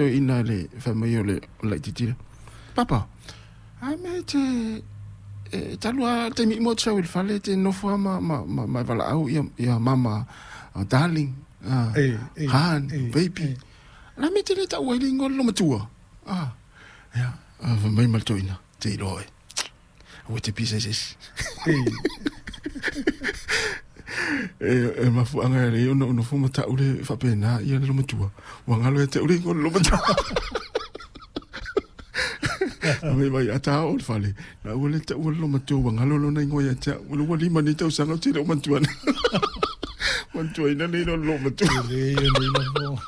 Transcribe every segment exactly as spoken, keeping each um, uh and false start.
toeaina le faimai o le o le laitiiti lea, "Papa, a mea e te e talu lava le taimi uma ou te sau i le fale e te nofo lava ma ma ma ma e valaau ia ia mama darling, ah, E, e, han, e, baby. E. O le a le mea e te le taua ai le igoa o le loomatua?" Ah, ia, fai mai ma le toeaina, "Te iloa oe. Aua e te pisa i se isi." E. E e mafuaaga e alai ona ou nofo ma ta'u le faapena ia le loomatua, ua galo ia te a'u le igoa o le loomatua. Mai mai a ta oo i le fale, na ua le ta'ua le loomatua, ua galo lona igoa ia te a'u. Ua lima nei tausaga ou te le o manatua manatuaina le igoa o le loomatua. Lelei ona iloa.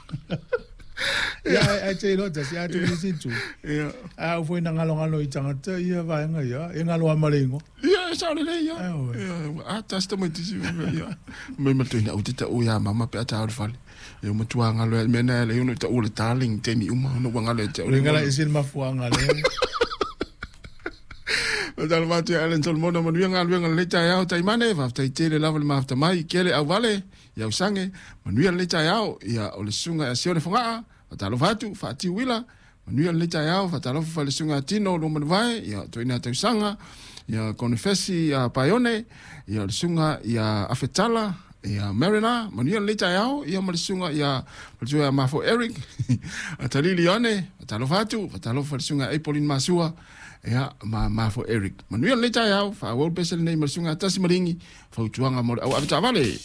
Ia, ai te iloa tasi a tu nisi tu. Ia. A ua foi na galogalo i tagata ia vaega ia, e galo lava ma le igoa. Ia, e sao lelei ia. Ai, oe. Ia, a tasi tamaitiiti ia. Mai ma le toeaina, aua te ta'ua ia mama pe a ta oo i le fale. E ua matua galo ia mea na e ala ai ona ou ta'ua le darling i taimi uma ona ua galo ia te O le gala ese le mafuaaga lea. Faatalofa atu ia Alan Solomona, manuia galuega lelei taeao taimane, faafetai tele lava le mafuta mai, kele auvale, i ausage, manuia lenei taeao, ia o le susuga ia Sione Fogaa, faatalofa atu, faatiu uila, manuia lenei taeao, faatalofa foi i le susuga ia Tino Luamanuvae, ia toeaina tausaga, ia Konefesi ia Paione, ia o le susuga ia Afetala, ia Marina, manuia lenei taeao, ia ma le susuga ia faletua ia Mafo Eric, Atalii Leone, faatalofa atu, faatalofa i le susuga ia Apolin Masua, ia ma Mafo Eric. Manuia lenei taeao, faaauau le pese lenei ma le susuga ia Tasi Maligi, fautuaga mo le au avetaavale.